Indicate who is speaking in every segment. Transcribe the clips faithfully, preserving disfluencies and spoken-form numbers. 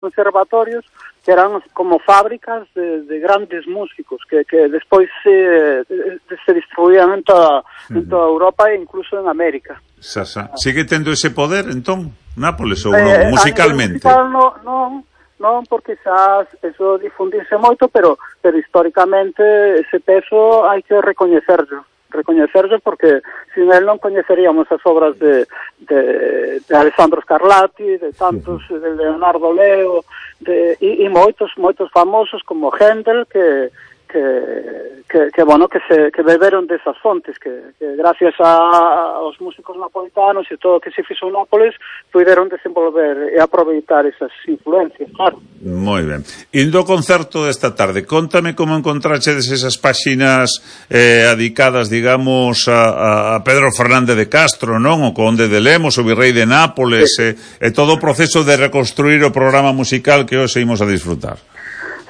Speaker 1: conservatorios que eran como fábricas de, de grandes músicos que, que despois se, se distribuían en toda, uh-huh. en toda Europa e incluso en América.
Speaker 2: Xa, xa. Sigue tendo ese poder, entón, Nápoles, ou
Speaker 1: eh,
Speaker 2: non, musicalmente?
Speaker 1: A nivel musical non, non, non, porque xa eso difundirse moito, pero, pero históricamente ese peso hai que recoñecerlo. recoñecerse porque sin él non coñeceríamos as obras de, de, de Alessandro Scarlatti, de tantos, uh-huh. de Leonardo Leo, de, e, e moitos, moitos famosos como Händel, que, que, que, que bueno, que se que beberon desas fontes, que, que gracias a, aos músicos napolitanos e todo o que se fixo en Nápoles, puderon desenvolver e aproveitar esas influencias, claro.
Speaker 2: Moi ben. Indo ao concerto desta tarde, contame como encontrachedes esas páxinas eh, adicadas, digamos, a, a Pedro Fernández de Castro, non? O conde de Lemos, o virrei de Nápoles, sí. e, e todo o proceso de reconstruir o programa musical que hoxe imos a disfrutar.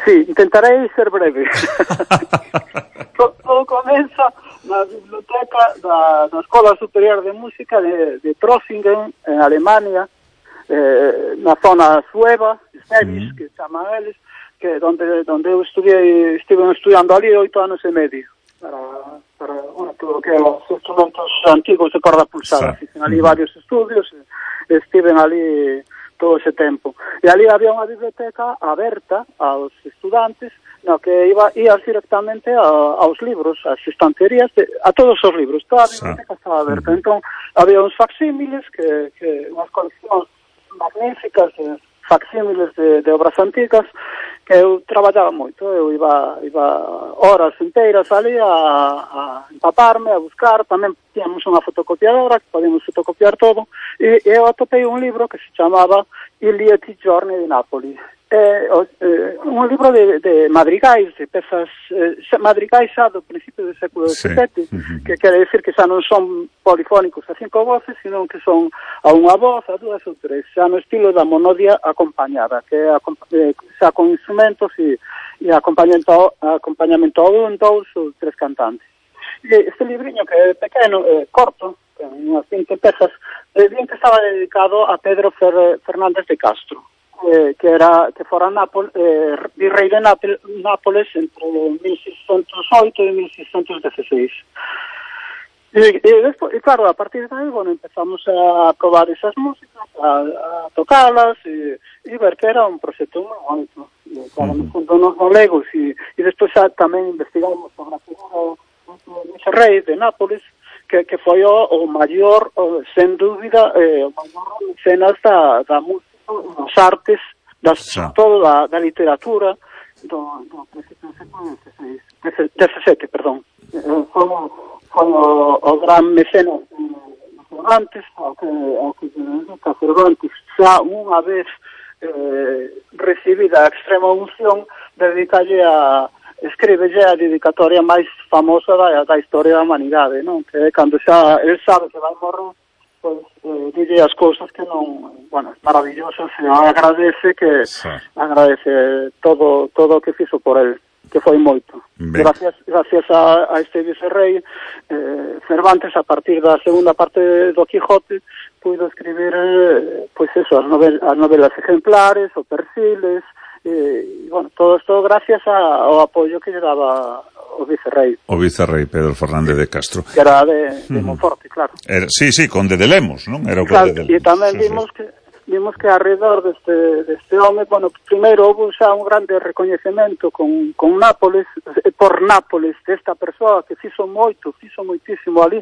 Speaker 1: Sí, intentarei ser breve. todo, todo comeza na biblioteca da, da Escola Superior de Música de, de Trossingen, en Alemania, eh, na zona sueva, Schwäbisch, mm. que chaman eles, que donde donde eu estudiei, estive estudiando ali oito anos e medio, para, para bueno, todo que os instrumentos antigos de corda pulsada. Fixen ali mm. varios estudios, e estiven ali todo ese tempo. E ali había unha biblioteca aberta aos estudantes, no que iba ías directamente a, aos libros, ás estanterías, de, a todos os libros, toda a biblioteca estaba aberta. Entón, había uns facsímiles, que, que unhas coleccións magníficas de facsímiles de, de obras antigas, que eu traballaba moito, eu iba, iba horas inteiras ali a, a empaparme, a buscar, tamén tínhamos unha fotocopiadora que podíamos fotocopiar todo, e eu atopei un libro que se chamaba I lieti giorni di Napoli, é eh, un libro de, de madrigais, de pezas eh, madrigais xa do principio do século dezasete, sí. uh-huh. que quere decir que xa non son polifónicos a cinco voces, sino que son a unha voz, a dúas ou tres, xa no estilo da monodia acompañada, que é eh, xa con instrumentos e, e acompañamento, acompañamento a un, dous ou tres cantantes. E este libriño que é pequeno, é corto, con unhas vinte pezas, é bien que estaba dedicado a Pedro Fer, Fernández de Castro, eh, que era que fora Nápoles, eh, virrei de Nápoles, Nápoles entre mil seiscentos oito e mil seiscentos dieciséis. E, e, despois, e claro, a partir de aí, bueno, empezamos a probar esas músicas, a, a tocalas e, e ver que era un proxecto moi bonito. E, claro, uh-huh. no fundo nos galegos e, e despois xa tamén investigamos sobre a figura do rei de Nápoles, que, que foi o, o maior, o, sen dúbida, eh, o maior mecenas da, da música, das artes, das, todo da, da literatura do, do principio do século dezasete, perdón. Eh, foi, foi o, o gran mecenas Cervantes, ao que, ao que se dedica Cervantes, xa unha vez eh, recibida a extrema unción, dedicalle a escríbelle a dedicatoria máis famosa da, da historia da humanidade, non? Que cando xa el sabe que vai morrer, pois eh, dille as cousas que non, bueno, é maravilloso, se agradece que sí. agradece todo todo o que fixo por el, que foi moito. Ben. Gracias gracias a, a este vicerrei eh, Cervantes, a partir da segunda parte do Quijote, puido escribir eh, pois eso, as, novel, as novelas ejemplares, o Persiles, e, bueno, todo isto gracias a, ao apoio que lle daba o vicerrei.
Speaker 2: O vicerrei Pedro Fernández de Castro.
Speaker 1: Que era de, de Monforte, claro.
Speaker 2: Era, sí, sí, conde de Lemos, non? Era o
Speaker 1: claro,
Speaker 2: conde de Lemos.
Speaker 1: E tamén
Speaker 2: sí,
Speaker 1: vimos
Speaker 2: sí.
Speaker 1: que vimos que alrededor deste, deste home, bueno, primeiro houve xa un grande recoñecemento con, con Nápoles, por Nápoles, desta persoa que fixo moito, fixo moitísimo ali.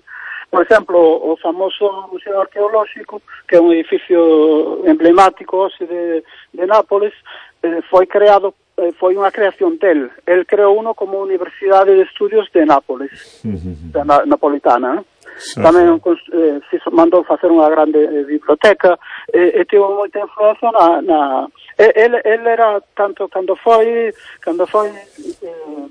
Speaker 1: Por exemplo, o famoso Museo Arqueolóxico, que é un edificio emblemático de, de Nápoles, eh, foi creado, eh, foi unha creación del. El creou uno como Universidade de Estudios de Nápoles, uh-huh. da na, napolitana, ¿no? Sí. Tamén eh, fiso, mandou facer unha grande eh, biblioteca e, e tivo moita influencia na, na el, el era tanto cando foi cando foi eh,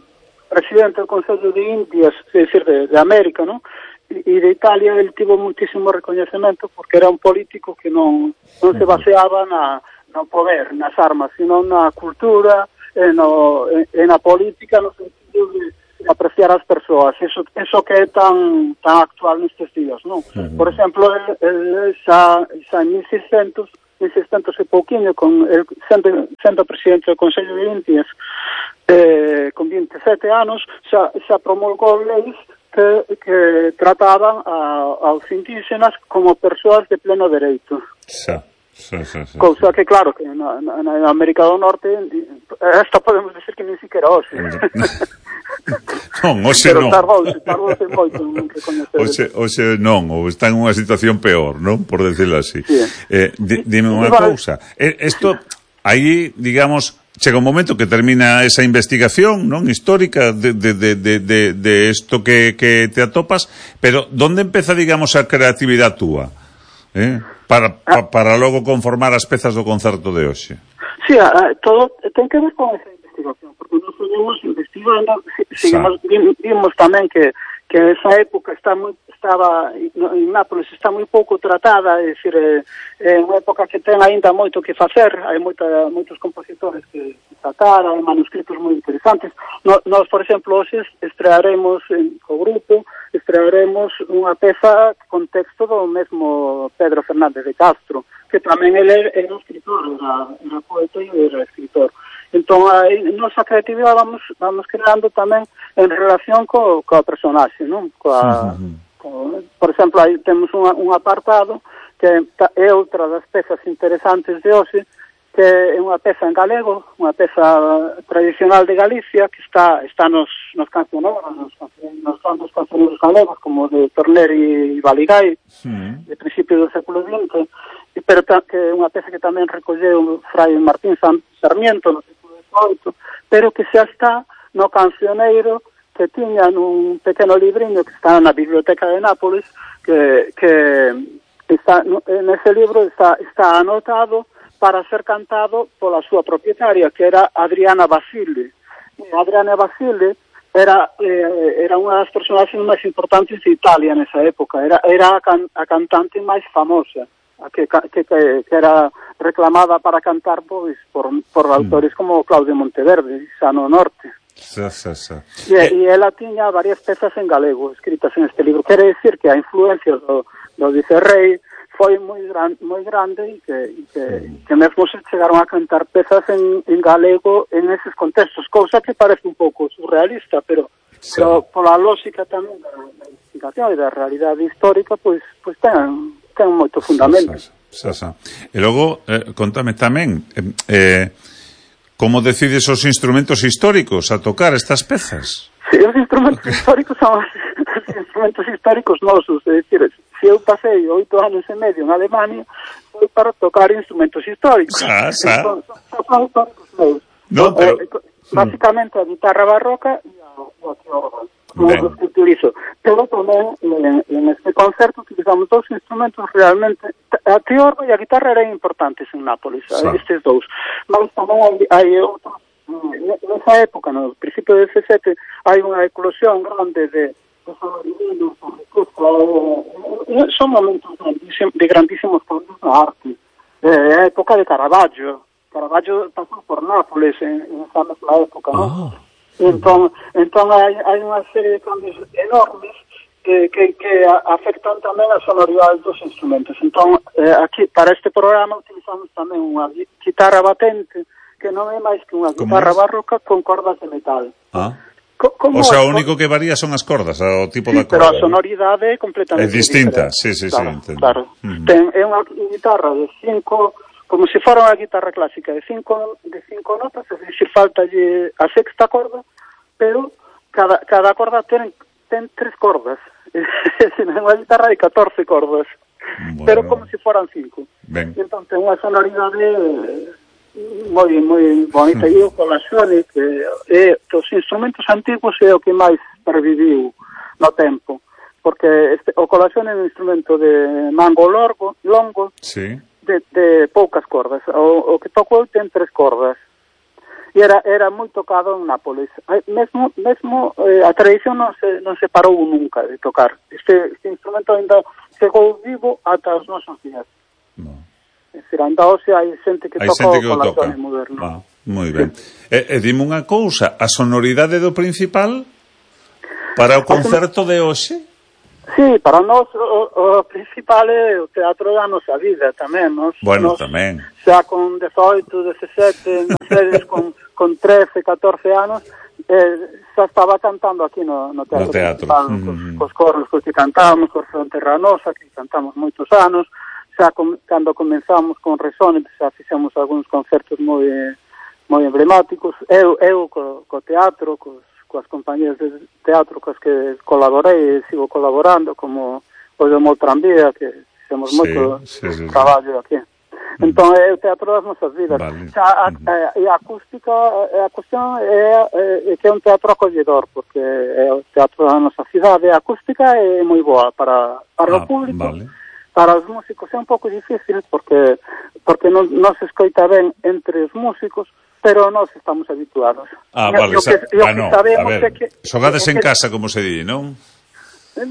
Speaker 1: presidente do Consello de Indias, é dicir, de, de América, ¿no? E, e de Italia, el tivo muitísimo recoñecemento porque era un político que non, non se baseaba na, no poder, nas armas, sino na cultura e, no, e, e na política, no sentido de apreciar as persoas, eso, eso que é tan tan actual nestes días, non? Uh-huh. Por exemplo, el, el xa, xa en mil seiscentos mil seiscentos e pouquiño, con el, sendo, sendo presidente do Consello de Indias, eh, con vinte e sete anos, xa, xa promulgou leis que, que trataban a, aos indígenas como persoas de pleno dereito.
Speaker 2: Xa. Sí, sí, sí,
Speaker 1: cousa que, claro, que na, na, na América do Norte esta podemos decir que nin siquiera hoxe.
Speaker 2: Non, hoxe
Speaker 1: pero
Speaker 2: non.
Speaker 1: Pero tardouse moito en recoñecer.
Speaker 2: Hoxe, hoxe non, ou está en unha situación peor, non? Por decirlo así. Sí. Eh, di, dime unha cousa. Isto, aí, digamos, chega un momento que termina esa investigación, non, histórica de de de de de, de isto que que te atopas, pero onde empeza, digamos, a creatividade túa? Eh? Para, pa, para logo conformar as pezas do concerto de hoxe.
Speaker 1: Sí, a, todo ten que ver con esa investigación, porque nos seguimos investigando, seguimos, vimos tamén que, que esa época está moi, estaba en Nápoles está moi pouco tratada, é dicir, é, é unha época que ten aínda moito que facer, hai moita, moitos compositores que tratar, hai manuscritos moi interesantes. No, nós, por exemplo, hoxe estrearemos en co grupo, estrearemos unha peza con texto do mesmo Pedro Fernández de Castro, que tamén ele era un escritor, era, era poeta e era escritor. Entón, a nosa creatividade vamos, vamos creando tamén en relación co, co personaxe, non? Coa, uh-huh. co, por exemplo, aí temos un, un apartado que é outra das pezas interesantes de hoxe, que é unha peza en galego, unha peza tradicional de Galicia, que está está nos, nos cancioneros, nos, nos grandes cancioneros galegos, como de Torner e Baligay, sí. De principio do século vinte, pero ta, que é unha peza que tamén recolleu Fray Martín Sarmiento no século dezoito, pero que xa está no cancioneiro que tiña nun pequeno libriño que está na Biblioteca de Nápoles, que, que está, nese libro está, está anotado para ser cantado pola súa propietaria, que era Adriana Basile. E Adriana Basile era eh, era unha das personaxes máis importantes de Italia nesa época, era era a, can, a cantante máis famosa, a que, que, que, que era reclamada para cantar pois por, por autores mm. como Claudio Monteverde, xa no norte.
Speaker 2: Xa, xa, xa.
Speaker 1: E, eh. e ela tiña varias pezas en galego escritas en este libro. Quere decir que a influencia do, do vicerrei foi moi gran, moi grande e que, e que, mm. que mesmo se chegaron a cantar pezas en, en galego en eses contextos, cousa que parece un pouco surrealista, pero, sí. pero pola lógica tamén da, da investigación e da realidade histórica, pois, pois ten, ten moito fundamento.
Speaker 2: Xa, xa, xa. E logo, eh, contame tamén, eh, eh, como decides os instrumentos históricos a tocar estas pezas?
Speaker 1: Sí, os instrumentos históricos son os instrumentos históricos nosos, é dicir, se eu pasei oito anos e medio en Alemania, foi para tocar instrumentos históricos.
Speaker 2: Xa, xa.
Speaker 1: Son, son, son históricos meus.
Speaker 2: No, pero...
Speaker 1: eh, basicamente a guitarra barroca e a, a teorba, os que utilizo. Pero tamén en, en este concerto utilizamos dous instrumentos realmente, a teorba e a guitarra eran importantes en Nápoles, xa. Estes dous. Mas tamén hai, hai outros. Nesa época, no principio do dezasete, hai unha eclosión grande de son momentos de grandísimos cambios na arte. É a época de Caravaggio. Caravaggio pasou por Nápoles en, en esa mesma época, non? Oh. Entón, entón hai, hai unha serie de cambios enormes que, que, que afectan tamén a sonoridade dos instrumentos. Entón, eh, aquí, para este programa, utilizamos tamén unha guitarra batente, que non é máis que unha guitarra barroca con cordas de metal.
Speaker 2: Ah. Como o sea, o único que varía son as cordas, o tipo
Speaker 1: sí,
Speaker 2: da corda.
Speaker 1: Pero a sonoridade é completamente
Speaker 2: é distinta,
Speaker 1: diferente.
Speaker 2: sí, sí,
Speaker 1: claro,
Speaker 2: sí, entendo.
Speaker 1: Claro. Uh-huh. Ten, é unha guitarra de cinco, como se fora unha guitarra clásica, de cinco, de cinco notas, é dicir, falta a sexta corda, pero cada, cada corda ten, ten tres cordas. É unha guitarra de catorce cordas, bueno, pero como se foran cinco. Ben. Entón, ten unha sonoridade moi moi bonita. E o colaxone, que é dos instrumentos antigos, é o que máis perviviu no tempo, porque este, o colaxone é un instrumento de mango longo, longo
Speaker 2: sí.
Speaker 1: de, de poucas cordas. O, o que tocou ten tres cordas e era era moi tocado en Nápoles. Mesmo mesmo eh, a tradición non se non se parou nunca de tocar. Este, este instrumento ainda chegou vivo ata os nosos días. No. É dicir, anda hoxe hai xente que hai toca o colaxone moderno.
Speaker 2: Ah, moi ben. Sí. E, e dime unha cousa, a sonoridade do principal para o concerto de hoxe?
Speaker 1: Sí, para nós o, o principal é o teatro da nosa vida tamén, nos,
Speaker 2: Bueno,
Speaker 1: nos,
Speaker 2: tamén.
Speaker 1: Xa con dezoito, dezasete, non sei, con, con trece, catorce anos, eh, xa estaba cantando aquí no, no teatro,
Speaker 2: no teatro.
Speaker 1: Principal,
Speaker 2: Mm.
Speaker 1: cos, cos corros cos que cantamos, cos Fronterranosa, que cantamos moitos anos, xa com, cando comenzamos con Resonance, xa fixemos algúns concertos moi moi emblemáticos, eu, eu co, co teatro, cos coas compañías de teatro cos que colaborei e sigo colaborando, como o de Moltranvía, que fixemos
Speaker 2: sí,
Speaker 1: moito
Speaker 2: sí, sí,
Speaker 1: traballo aquí.
Speaker 2: Mm.
Speaker 1: Entón é o teatro das nosas vidas.
Speaker 2: Vale.
Speaker 1: Xa, a, a, e a acústica, a cuestión é, é que é un teatro acolledor, porque é o teatro da nosa cidade, a acústica é moi boa para, para
Speaker 2: ah,
Speaker 1: o público.
Speaker 2: Vale.
Speaker 1: Para os músicos é un pouco difícil, porque porque non, non se escoita ben entre os músicos, pero nós estamos habituados.
Speaker 2: Ah,
Speaker 1: E,
Speaker 2: vale,
Speaker 1: o que,
Speaker 2: sa-
Speaker 1: o
Speaker 2: ah,
Speaker 1: que
Speaker 2: no,
Speaker 1: sabemos
Speaker 2: a ver,
Speaker 1: é que...
Speaker 2: xogades
Speaker 1: é
Speaker 2: en
Speaker 1: que-
Speaker 2: casa, como se di, non?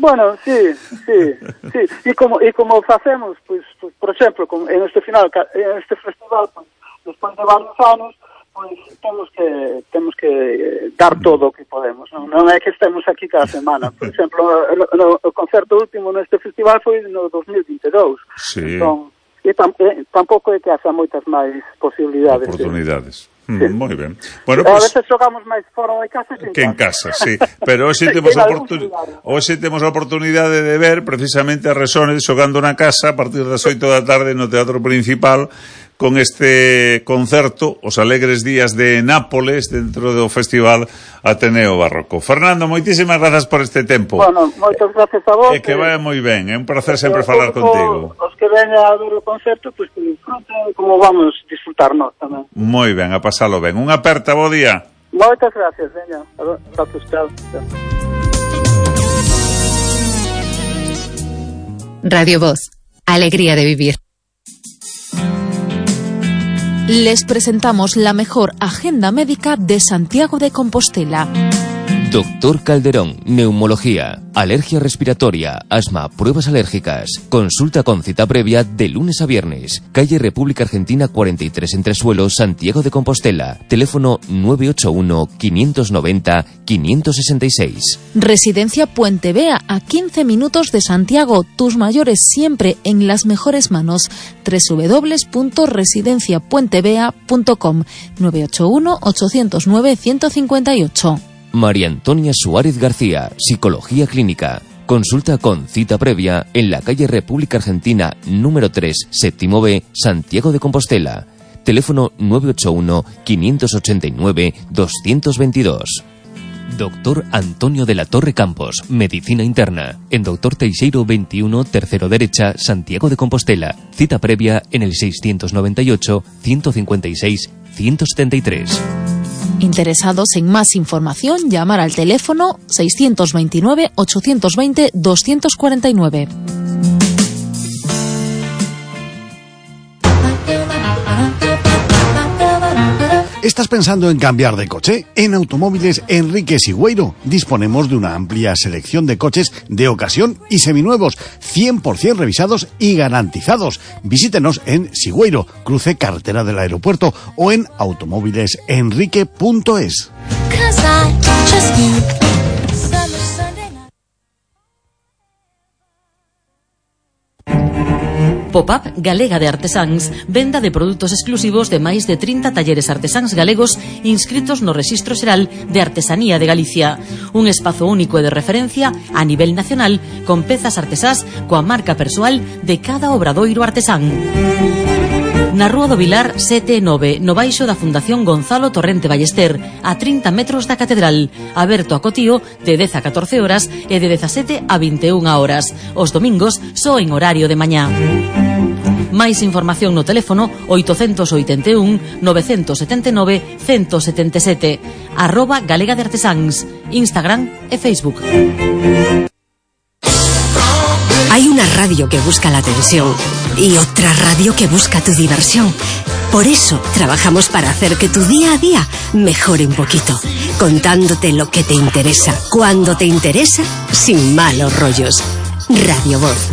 Speaker 1: Bueno, sí, sí, sí. E como, e como facemos, pois, pois, por exemplo, con, en este final, ca- en este festival, pois, despois de varios anos, pois temos que temos que eh, dar todo o que podemos, non, non é que estemos aquí cada semana. Por exemplo, no, no, o concerto último neste festival foi no dos mil vinte e dous.
Speaker 2: Sí.
Speaker 1: Entón, e, tam, e tampouco é que haxa moitas máis posibilidades.
Speaker 2: Oportunidades.
Speaker 1: Sí.
Speaker 2: Mm, moi ben. Bueno,
Speaker 1: A
Speaker 2: pues,
Speaker 1: veces xogamos máis fora de casa que en
Speaker 2: que en
Speaker 1: casa.
Speaker 2: casa, sí. Pero hoxe temos
Speaker 1: En
Speaker 2: a
Speaker 1: algúns
Speaker 2: oportun...
Speaker 1: lugares.
Speaker 2: hoxe temos a oportunidade de ver precisamente a Resones xogando na casa a partir das oito da tarde no Teatro Principal con este concerto, os alegres días de Nápoles, dentro do Festival Ateneo Barroco. Fernando, moitísimas grazas por este tempo.
Speaker 1: Bueno, moitas gracias a vos.
Speaker 2: E que vai moi ben, é un placer
Speaker 1: E
Speaker 2: sempre
Speaker 1: o
Speaker 2: falar
Speaker 1: público,
Speaker 2: contigo.
Speaker 1: Os que veña a ver o concerto, pois pues, que disfruten como vamos disfrutar nós tamén.
Speaker 2: Moi ben, a pasalo ben. Unha aperta, bo día.
Speaker 1: Moitas gracias, veña. Gracias, chao. chao.
Speaker 3: Radio Voz, alegría de vivir. Les presentamos la mejor agenda médica de Santiago de Compostela.
Speaker 4: Doctor Calderón, neumología, alergia respiratoria, asma, pruebas alérgicas. Consulta con cita previa de lunes a viernes. Calle República Argentina cuarenta y tres Entresuelo, Santiago de Compostela. Teléfono nueve ocho uno, quinientos noventa, quinientos sesenta y seis.
Speaker 3: Residencia Puente Vea, a quince minutos de Santiago. Tus mayores siempre en las mejores manos. doble u doble u doble u punto residencia puente vea punto com. nueve ocho uno, ocho cero nueve, uno cinco ocho.
Speaker 4: María Antonia Suárez García, Psicología Clínica. Consulta con cita previa en la calle República Argentina número tres, séptimo B, Santiago de Compostela. Teléfono nueve ocho uno, quinientos ochenta y nueve, doscientos veintidós. Doctor Antonio de la Torre Campos, Medicina Interna. En Doctor Teixeiro veintiuno, tercero derecha, Santiago de Compostela. Cita previa en el seiscientos noventa y ocho, ciento cincuenta y seis, ciento setenta y tres.
Speaker 3: Interesados en más información, llamar al teléfono seiscientos veintinueve, ochocientos veinte, doscientos cuarenta y nueve.
Speaker 5: ¿Estás pensando en cambiar de coche? En Automóviles Enrique Sigüeiro disponemos de una amplia selección de coches de ocasión y seminuevos, cien por ciento revisados y garantizados. Visítenos en Sigüeiro, cruce carretera del aeropuerto, o en automóviles enrique punto es.
Speaker 6: Pop-up Galega de Artesáns, venda de produtos exclusivos de máis de trinta talleres artesáns galegos inscritos no Rexistro Xeral de Artesanía de Galicia. Un espazo único e de referencia a nivel nacional con pezas artesás coa marca persoal de cada obradoiro artesán. Na Rúa do Vilar sete e nove, no baixo da Fundación Gonzalo Torrente Ballester, a trinta metros da Catedral, aberto a cotío de dez a catorce horas e de dezasete a vinte e unha horas. Os domingos só en horario de mañá. Máis información no teléfono oitocentos oitenta e un, novecentos setenta e nove, ciento setenta e sete, arroba Galega de Artesáns, Instagram e Facebook.
Speaker 7: Hay una radio que busca la atención y otra radio que busca tu diversión. Por eso trabajamos para hacer que tu día a día mejore un poquito, contándote lo que te interesa, cuando te interesa, sin malos rollos. Radio Voz,